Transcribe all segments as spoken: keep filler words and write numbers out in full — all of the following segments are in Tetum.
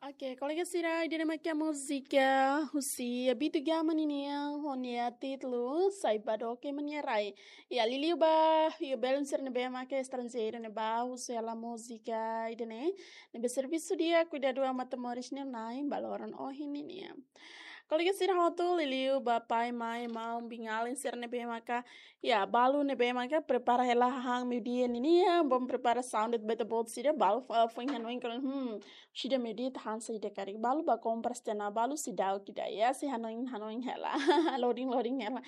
Oke, kolega sira, ida-ne'e mak múzika husi Abito Gama nian, ho nia títulu Sai Ba Doke Mai Nia Rai. Ya, liuliu ba, ya, belun sira ne'ebé maka estranjeiru ne'ebá husu hela múzika ida-ne'e, ne'ebé servisu di'ak, kuidadu ba matan-moris nia na'in ba loron ohin nian. Kolega sira hotu, liuliu ba pai, mãe, maun, biin-alin sira ne'ebé maka, ya, balu ne'ebé maka prepara hela hahán meiudia nian, bom prepara sound ba ita-boot sira, balu, eh, foin hanoin kalan, hmm, sira meiudia ita han saida karik, balu ba kompras tiha ona, balu seidauk ida, ya, sei hanoin, hanoin hela, loading, loading hela.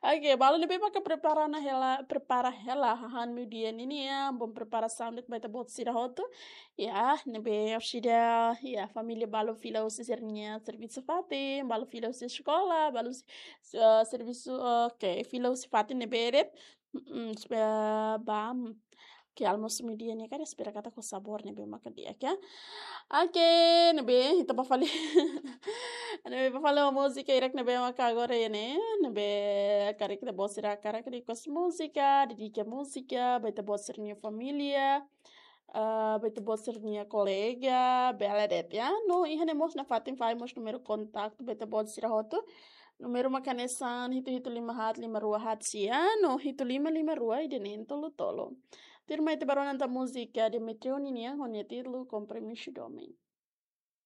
Oke, balu ne'ebé maka prepara ona hela, prepara hela hahán meiudia nian, bom prepara sound ba ita-boot sira hotu. Ya, ne'ebé sira, ya, família balu fila husi sira-nia servisu fatin, balu fila husi eskola, balu si-, eh, servisu, oke, fila husi fatin ne'ebé de'it. Mm, espera, ba, mm, ke almosu meiudia nian karik, espera katak ho sabór ne'ebé maka di'ak, ya. Oke, ne'ebé, ita ba fali. Ne'ebé ba fali ho múzika hirak ne'ebé maka agora iha ne'e, ne'ebé karik ita-boot sira hakarak request múzika, dedika múzika ba ita-boot sira-nia família, ah, ba ita-boot sira-nia kolega, bele de'it, ya. No, iha ne'e mós nafatin fali mós númeru kontaktu ba ita-boot sira hotu. Númeru mak hanesan hitu hitu lima haat lima rua haat sia, no hitu lima lima rua ida neen tolu tolu. Tuirmai ita bá rona tan múzika Demetrio nian ho nia títulu Kompromisu Domin.